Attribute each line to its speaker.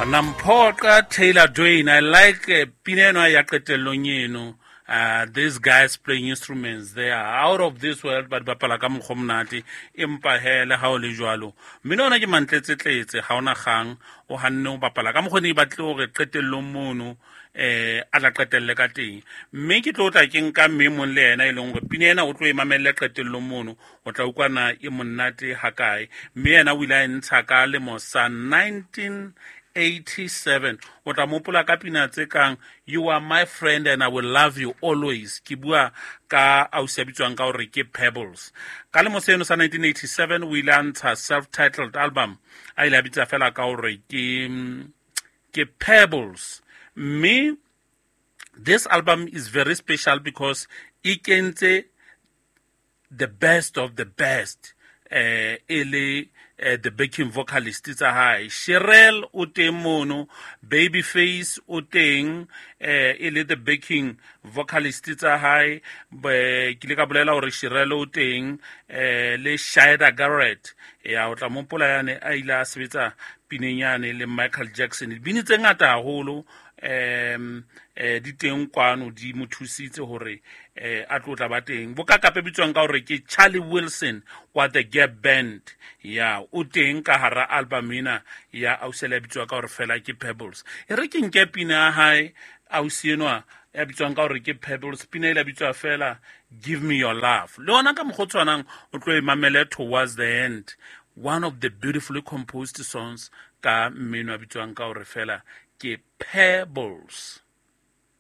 Speaker 1: Namphoqa Taylor Dwayne, I like pina eno ya qetellong eno. These guys playing instruments, they are out of this world, but bapala ka mokgwa monate. Empa he le ha o le jwalo, mmino ona ke mantletsetletse, ha ona kgang, o hanne o bapala ka mokgwa ne e batle hore qetellong mono a tla qetelle ka teng. Mme ke tlo tla ke nka mme mong le yena e leng hore pina ena o tlo e mamelle qetellong mono, o tla utlwa na e monate hakae. Mme yena o ile a e ntsha ka lemo sa 1987. O tla mopola ka pina tse kang You Are My Friend and I Will Love You Always. Ke bua ka ausi a bitswang ka hore ke Pebbles. Ka lemo seno sa 1987 o ile a ntsha self-titled album, a ile a bitsa fela ka hore ke Pebbles. Mme this album is very special because e kentse the best of the best, e le the backing vocalist tsa hae. Cherrelle o teng mono, Babyface o teng, e le the backing vocalist tsa hae. Ke ile ka bolela hore Cherrelle o teng, le Siedah Garrett, ya o tla mopola yane a ile a sebetsa pineng yane le Michael Jackson. Dibini tse ngata haholo di teng kwano, di mo thusitse hore a tlo tla ba teng. Bokakape bitswang ka hore ke Charlie Wilson wa The Gap Band, ya o teng ka hara album ena ya ausi ya bitswang ka hore fela ke Pebbles. E re ke nke pina ya hae ausi enwa ya bitswang ka hore ke Pebbles, pina e la bitswa fela Give Me Your Love. Le yona ka mokgwa o tshwanang o tlo e mamele towards the end, one of the beautifully composed songs ka mmino a bitswang ka hore fela ke Pebbles.